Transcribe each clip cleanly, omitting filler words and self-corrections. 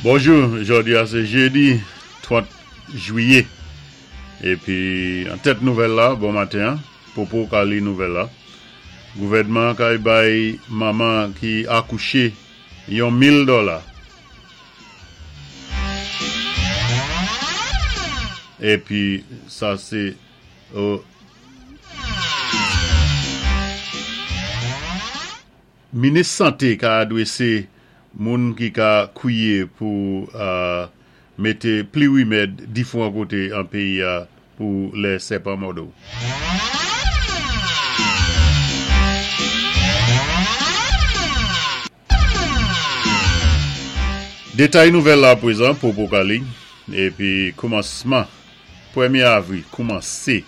Bonjou, jòdi a sé jedi 30 jwiyé épi an tèt nouvèl la bon maten an, Popo ka li nouvèl la, gouvèdman an kay bay manman ki akouché yon 1000 dòla. Épi sa sé o. Minis sante ka adwese moun ki ka kwiye pou mete pli rimèd difwan kote an peyi a pou lè sèpan mòde w. Detay nouvèl la apwezan Popo Kali epi koumansman premye avri koumanse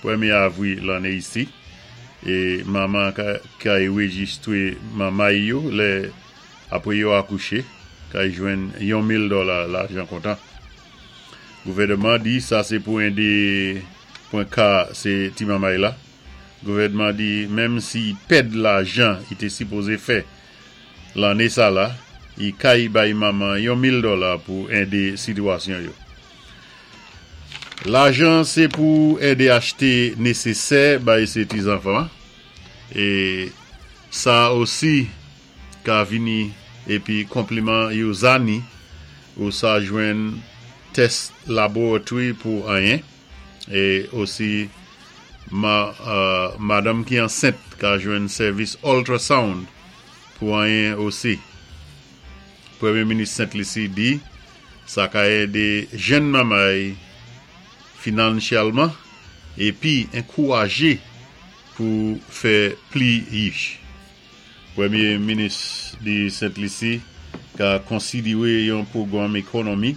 premye avri lanne isi e manman kay rejistre manmay yo lè apre yo akouche kay jwenn yon 1000 dòla lajan kontan gouvèneman di sa se pou ede pwen ka se ti manmay la. Gouvènman di menm si y pèd lajan y te sipoze fè lanne sa la, y kay bay manman yon 1000 dòla pou ede sitwasyon yo. Lajan se pou ede achte nesesè bay se ti zanfan e sa osi ka vini epi konpliman yo zani ou sa jwenn tès laboratory pou anyen. E osi madanm ki ansent ka jwenn sèvis ultrasound pou anyen osi. Premye Minis Sent Lisi di sa ka ede jenn mamay finansyèlman epi enkouraje pou fè pli yich. Premye Minis di Sent Lisi ka konsidire yon pwogwanm ekonomi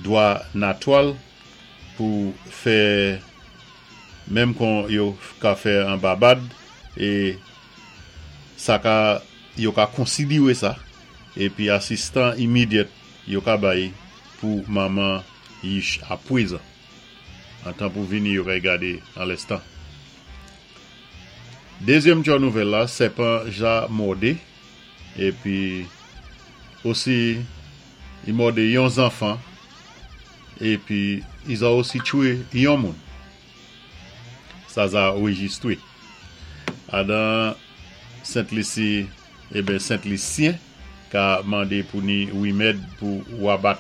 dwa natwal pou fè menm kon yo ka fè an Babad e sa ka yo ka konsidire sa epi asistan immediate yo ka bay pou manman yich apwezan an tan pou vini yo kay gade an lèstan. Dezyèm tchò nouvèl la sèpan ja mòde epi osi i mòde yon zanfan Epi i za osi tchwe yon moun. Sa za rejistre. Adan Sent Lisi, eben Sent Lisyen ka mande pou ni rimèd pou wabat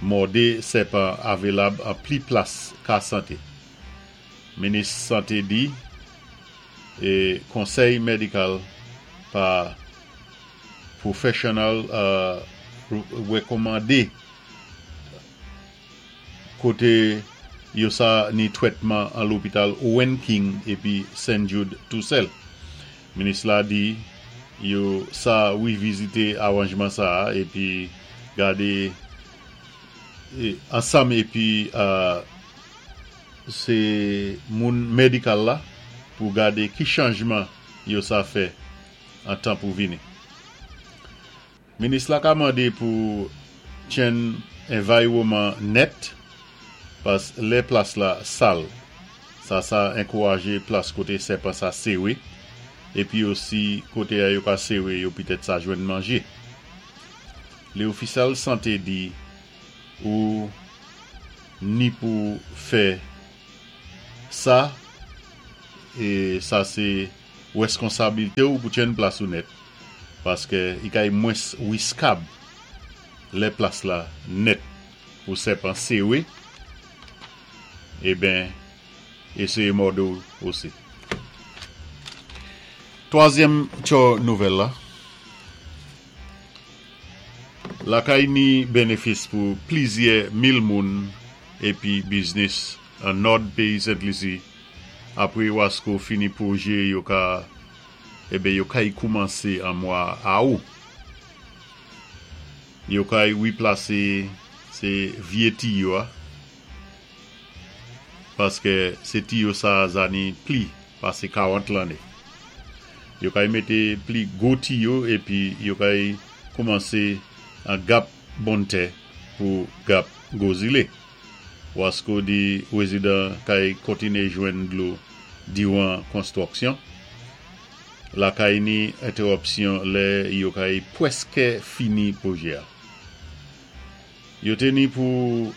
mòde sèpan avelab an pli plas ka sante. Minis sante di e konsèy medikal pa pwofessional rekomande Kote yo sa ni twètman an lopital Owen King epi St. Jude tousèl. Minis la di yo sa revizite aranjman sa a epi gade ansanm epi se moun medikal la pou gade ki chanjman yo sa fè an tan pou vini. Minis la ka mande pou tchenn envaywoman nèt pas lè plas la sal. Sa sa enkouraje plas kote sèpan sa sere epi osi kote a yo ka sere yo pitèt sa jwenn manje. Le ofisal sante di ou ni pou fè sa e sa se rèskonsablite ou pou tchenn plas ou nèt. Paske i kay mwens wiskab lè plas la nèt pou sèpan sere eben eseye mòde w osi. Twazyèm tchò nouvèl la, Lakay ni benefis pou plizyè mil moun epi biznis an nòd peyi Sent Lisi apre Wasko fini pwoje yo ka Eben yo kay koumanse an mwa Aou. Yo kay replase se vye tiyo a. Paske se tiyo sa zani pli pase 40 lanne. Yo kay mete pli gwo tiyo epi yo kay koumanse an gap Bonntè pou gap Gwo Zile. Wasko di rezidan kay kontine jwenn dlo diran konstwoksyon lakay ni entewòpsyon lè yo kay pwèske fini pwojè a. Yo té ni pou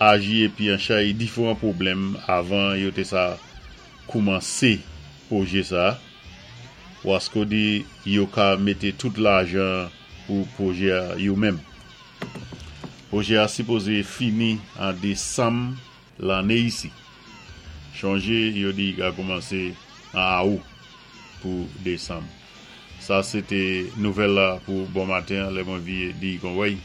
aji épi anchay diféwan pwoblèm avan yo té sa koumansé pwojé sa. Wasco di yo ka mété tout lajan pou pwojé-a yo menm. Pwojé-a sipozé fini an désanm lanné isi. Chonjé yo di i ka koumansé an awou pou désanm. Sa sé té nouvèl la pou bon maten lè mwen viyé di kon wèy.